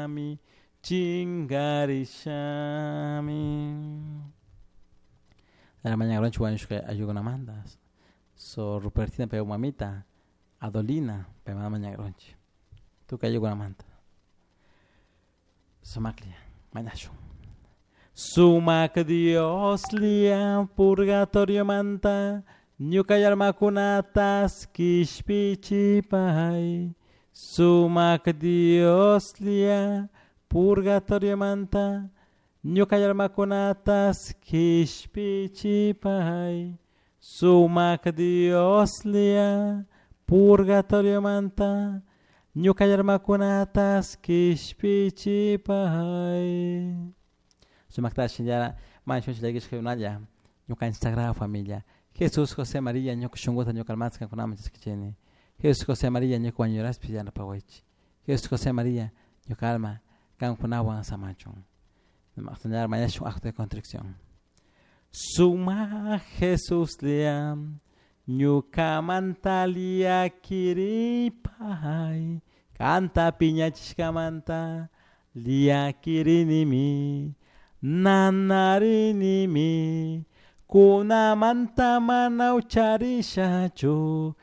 Chingarishami, chingarishami. Mañana wañushka ayllukunamanta. So Rupertina pay mamita, Adolina pay mañagrunchik. Tukuy ayllukunamanta. Sumaklla, mañashun. Sumak Dioslla purgatoriomanta ñuka almakunatas kishpichipay. Sumak Dioslla purgatoriomanta ñuka almakunatas kishpichipay. Sumak Dioslla purgatoriomanta ñuka almakunatas kishpichipay. Sumakta shinllara mañashunchik llakishka ñukanchik sagrada familia. Jesús, José, María, ñuka shunkuta ñuka almata kankunaman chaskichini. Jesús, José, María, ñuka wañuraspi yanapawaychik. Jesús, José, María, ñuka alma kankunawan samachun. Mañashun acto de contrición. Suma Jesuslla ñukamanta llakiripay kanta piñachishkamanta llakirinimi nanarinimi kunamanta mana ucharishachu.